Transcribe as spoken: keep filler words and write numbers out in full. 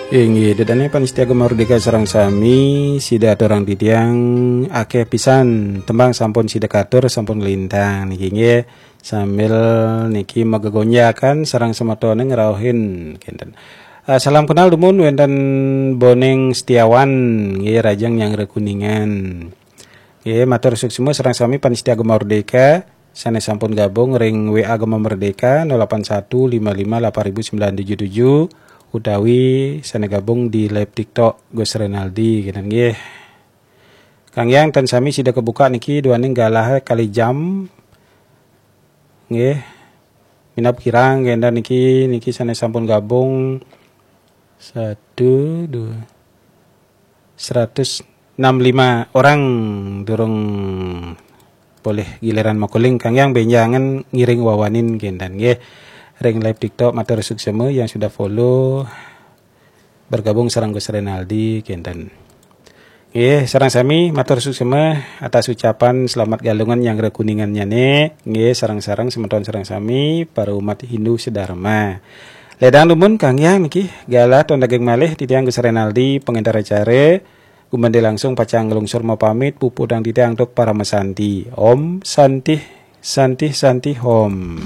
Inggih, dedane panitia Gema Merdeka sareng sami, sida aturang titiang akeh pisan tembang sampun sida katur, sampun nglintang niki nggih. Sambil niki magegonjakan sareng semetone ngrauhin kenten. Eh, salam kenal dumun wenten Boning Setiawan nggih, rajeng nyanggra Kuningan. Nggih, matur suksma sareng sami panitia Gema Merdeka sane sampun gabung ring W A Gema Merdeka nol delapan satu lima lima delapan ribu sembilan tujuh tujuh utawi sane gabung di live TikTok Gus Renaldi kenten nggih. Kang Yang ten sami sida kebuka niki duaning galah kali jam. Nggih. Minab kirang kenten niki, niki sane sampun gabung satu, dua, seratus enam lima orang durung polih giliran makuling. Kang Yang benjangan ngiring wawanin kenten nggih. Ring live TikTok matur suksma yang sudah follow bergabung sareng Gus Renaldi kenten. Nggih, sareng sami matur suksma atas ucapan selamat Galungan nyanggra Kuningan nyane. Nggih, sareng-sareng semeton sareng sami para umat Hindu sedharma. Ledang dumun Kang Yang niki galah ton daging malih titiang Gus Renaldi pengantar acara. Gumanti langsung pacang nglungsur mapamit puputang titiang antuk parama santi. Om Santih Santih Santih Om.